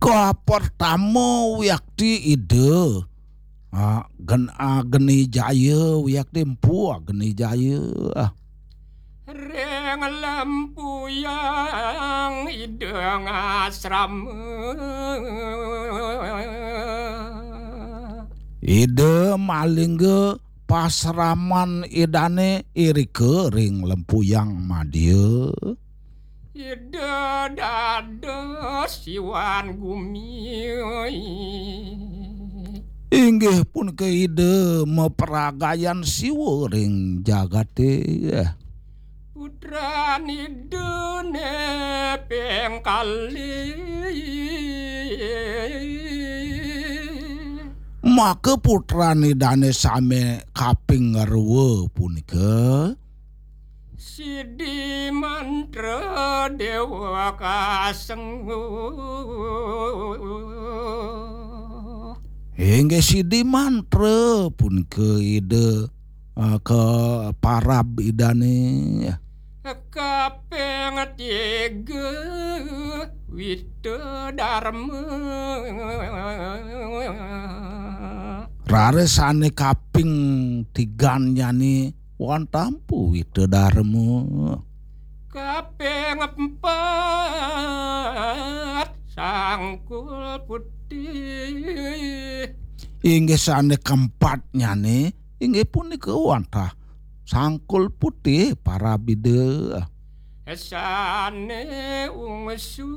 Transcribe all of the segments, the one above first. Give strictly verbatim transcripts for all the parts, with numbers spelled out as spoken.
Kapertama wiakti Ida. Ah, gen, ah, Geni Jaya wiakti Empu Geni Jaya. Ah. Ring lempuyang Ida ngasrama. Ida malingga pasraman Idane irika ring lempuyang madya. Ida dados Siwan Gumi. Inggih punika Ida mapragayan Siwa ring jagate. Putran Idane ping kalih. Maka putran Idane sami kaping ngarwa punika. Sidi Mantra Dewa Kasenggu. Inggih Sidi Mantra punika Ida, eh, ka parab Idane. Kaping tiga Wita Dharma. Raris sane kaping tigannyane wantah Empu Wita Dharma. Kaping empat Sangkul Putih. Inggih sane keempatnyane inggih punika wantah Sangkul Putih parab Ida. Sane ungsu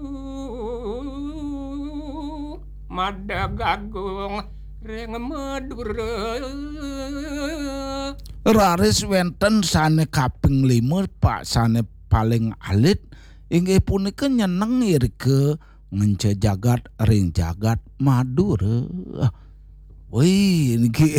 Madagagung ring Madura. Raris wenten sane kaping lima, Pak, sane paling alit, inggih punika nyeneng irika ngenca jagat ring jagat Madura. Wih, niki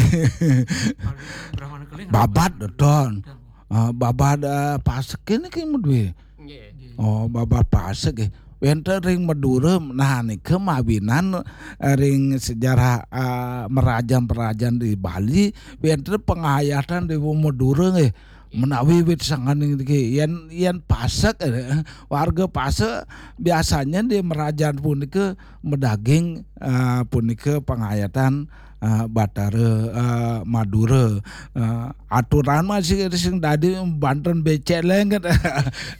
Brahmana Keling. Babad, Don. Ah, babad, ah, pasek niki madue. Nggih. Oh, babad pasek, eh. Wenten ring Madura, nah, nika mawinan, eh, ring sejarah, ah, merajan-perajan di Bali, wenten pangayatan Dewa Madura, nggih. Menawi wit sangkaning niki, yen, yen pasek, eh, warga pasek biasanya di merajan punika medaging, eh, punika pangayatan, eh, Batara, eh, Madura. Eh, aturan masih sing dadi banten becek lenget.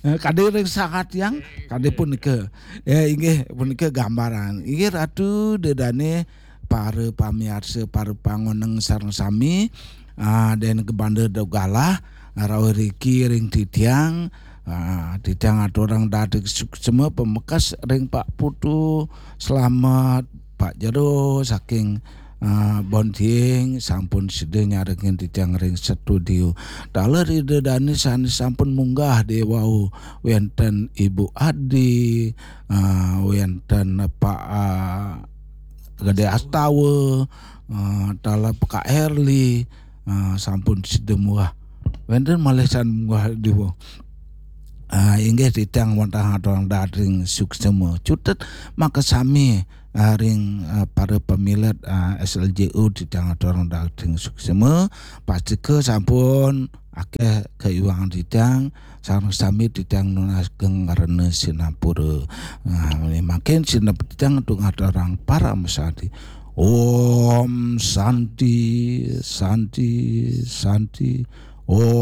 Kadi ring sahat yang kadi punika. Ya, inggih punika gambaran. Inggih Ratu Dedane, para pamiarsa, para pangoneng sareng sami, ah, den kebanda dogalah, rauh riki ring titiang, ah, titiang aturang dadik suksma pamekas ring Pak Putu Slamet, Pak Jero saking, ah, Bontiing sampun sida nyarengin titiang ring studio. Taler Ida Dane sane sampun munggah dewau, wenten Ibu Adi, ah, wenten Pak, ah, Gede Astawa, eh, taler Pak Erli, eh, sampun sida munggah. Wenten malih sane munggah dewau. Ah, inggih titiang wantah aturang dadik suksma. Cutet makasami, ah, ring, ah, para pamilet, ah, S L J U titiang aturang dadik suksma. Pastika sampun akeh kaiwangan titiang, sareng sami titiang nunas geng ngarana sinampura. Nah, mangkin sineb titiang ngaturang parama santi. Om Santi, Santi, Santi. Om